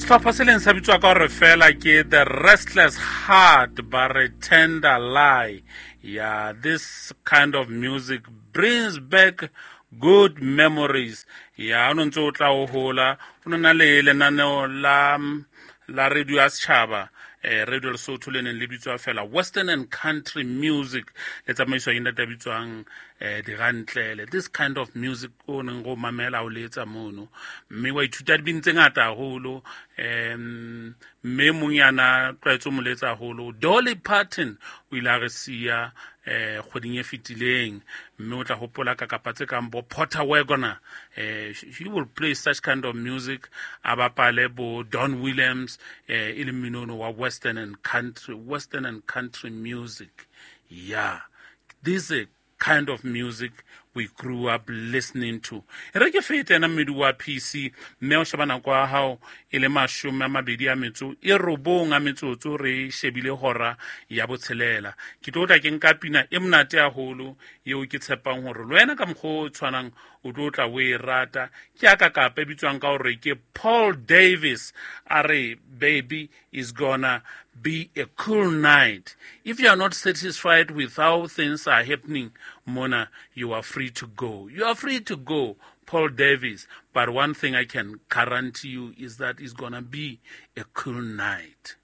Sehlopha se leng sa bitswa ka gore fela ke The Restless Heart, ba re Tender Lie. Yeah, this kind of music brings back good memories. Ya, o no ntse o tla o hola, o no na le lenaneo la radio ya setšhaba, Radio Lesotho, le neng le bitswa fela Western and Country Music, le tsamaiswa ke ntate a bitswang Dirantlele. This kind of music o neng go mamela o letsa mono, mme wa ithuta dibini tse ngata haholo. Mme mong yana tlwaetse mo letsa haholo, Dolly Parton, o ile a re siya kgweding e fetileng, mme o tla hopola ka kapa tse kang bo Porter Wagoner. He will play such kind of music, a bapale bo Don Williams, e le mmino wa western and country music. Yeah, this is a kind of music we grew up listening to. E re ke fete ena mmedi wa PC, mme o sheba nako ya hao e le 29 a metsotso, re shebile hora ya botshelela. Ke tlo tla ke nka pina e monate haholo eo ke tshepang hore le wena ka mokgwa o tshwanang o tlo tla o e rata. Ke ya ka kapa e bitswang ka hore ke Paul Davis, a re baby is gonna be a cool night. If you are not satisfied with how things are happening, Mona, you are free to go. You are free to go, Paul Davis. But one thing I can guarantee you is that it's gonna be a cool night.